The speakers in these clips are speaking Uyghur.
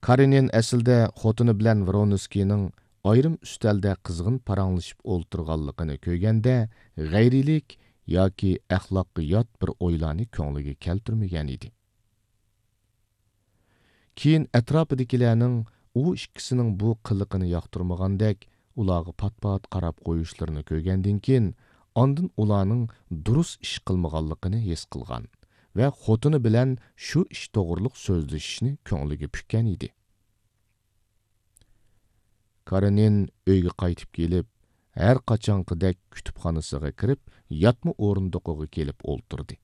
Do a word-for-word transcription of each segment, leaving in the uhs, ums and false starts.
كارېنىن ئەسلىدە خوتۇنى بىلەن ۋرونسكىينىڭ ئايرىم ئۈستەلدە قىزغىن پاراڭلىشىپ ئولتۇرغانلىقىنى كۆرگەندە، غەيرىيلىك ياكى ئەخلاققا يات بىر ئويلارنى كۆڭلىگە كەلتۈرمىگەن ئىدى. كېيىن ئەتراپىدىكىلەرنىڭ ئۇ ئىككىسىنىڭ بۇ قىلىقىنى ياقتۇرمىغاندەك، ئۇلارغا پات-پات قاراپ قويۇشلىرىنى كۆرگەندىن كېيىن، ئاندىن ئۇلارنىڭ دۇرۇس ئىش قىلمىغانلىقىنى ھېس قىلغان ۋە خوتۇنى بىلەن شۇ ئىش توغرۇلۇق سۆزلىشىشنى كۆڭلىگە پۈككەن ئىدى. كارېنىن ئۆيگە قايتىپ كېلىپ، ھەر قاچانقىدەك كۇتۇپخانىسىغا كىرىپ، ياتما ئورۇندۇقىغا كېلىپ ئولتۇردى.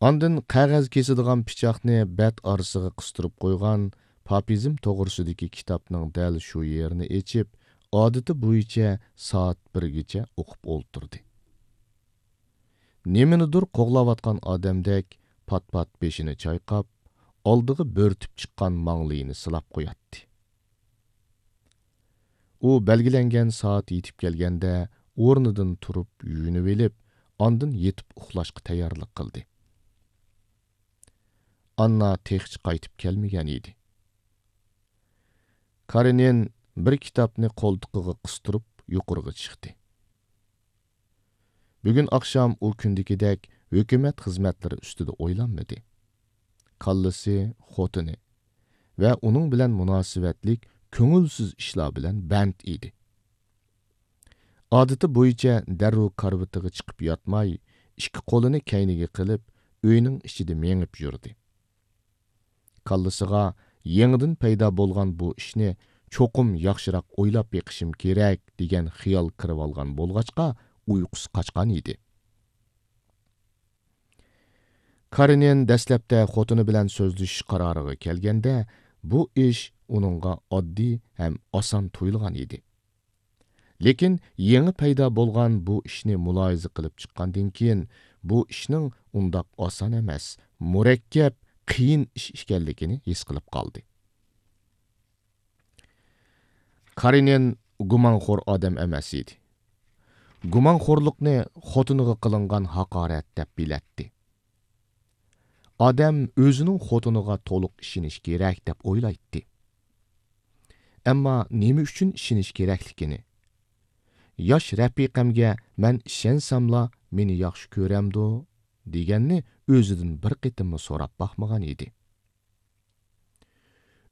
ئاندىن قەغەز كېسىدىغان پىچاقنى بەت ئارىسىغا قىستۇرۇپ قويغان پاپىزم توغرىسىدىكى كىتابنىڭ دەل شۇ يېرىنى ئېچىپ، ئادىتى بويىچە سائەت بىرگىچە ئوقۇپ ئولتۇردى. نېمىنىدۇر قوغلاۋاتقان ئادەمدەك پات-پات بېشىنى چايقاپ، ئالدىغا بۆرتۈپ چىققان ماڭلىيىنى سىلاپ قوياتتى. ئۇ بەلگىلەنگەن سائەت يېتىپ كەلگەندە، ئورنىدىن تۇرۇپ يۇيۇنۇۋېلىپ، ئاندىن يېتىپ ئۇخلاشقا تەييارلىق قىلدى. ئاننا تېخىچە قايتىپ كەلمىگەن ئىدى. كارېنىن بىر كىتابنى قولتۇقىغا قىستۇرۇپ يۇقىرىغا چىقتى. بۈگۈن ئاخشام ئۇ كۈندىكىدەك ھۆكۈمەت خىزمەتلىرى ئۈستىدە ئويلانمىدى. كاللىسى، خوتۇنى ۋە ئۇنىڭ بىلەن مۇناسىۋەتلىك كۆڭۈلسىز ئىشلار بىلەن بەند ئىدى. ئادىتى بويىچە دەررۇ كارىۋىتىغا چىقىپ ياتماي، ئىككى قولىنى كەينىگە قىلىپ، ئۆينىڭ ئىچىدە مېڭىپ يۈردى. كاللىسىغا يېڭىدىن پەيدا بولغان بۇ ئىشنى چوقۇم ياخشىراق ئويلاپ بېقىشىم كېرەك، دېگەن خىيال كىرىۋالغان بولغاچقا، ئۇيقۇسى قاچقان ئىدى. كارېنىن دەسلەپتە خوتۇنى بىلەن سۆزلىشىش قارارىغا كەلگەندە، بۇ ئىش ئۇنىڭغا ئاددىي ھەم ئاسان تۇيۇلغان ئىدى. لېكىن يېڭى پەيدا بولغان بۇ ئىشنى مۇلاھىزە قىلىپ چىققاندىن كېيىن، بۇ ئىشنىڭ ئۇنداق ئاسان ئەمەس، مۇرەككەپ، قىيىن ئىش ئىكەنلىكىنى ھېس قىلىپ قالدى. كارېنىن گۇمانخور ئادەم ئەمەس ئىدى. گۇمانخورلۇقنى خوتۇنىغا قىلىنغان ھاقارەت دەپ بىلەتتى. ئادەم ئۆزىنىڭ خوتۇنىغا تولۇق ئىشىنىشى كېرەك دەپ ئويلايتتى. ئەمما نېمە ئۈچۈن ئىشىنىشى كېرەكلىكىنى، ياش رەپىقەمگە مەن ئىشەنسەملا مېنى ياخشى كۆرەمدۇ؟ دېگەننى ئۆزىدىن بىر قېتىممۇ سوراپ باقمىغان ئىدى.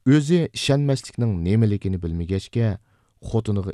ئۆزى ئىشەنمەسلىكنىڭ نېمىلىكىنى بىلمىگەچكە، خوتۇنىغا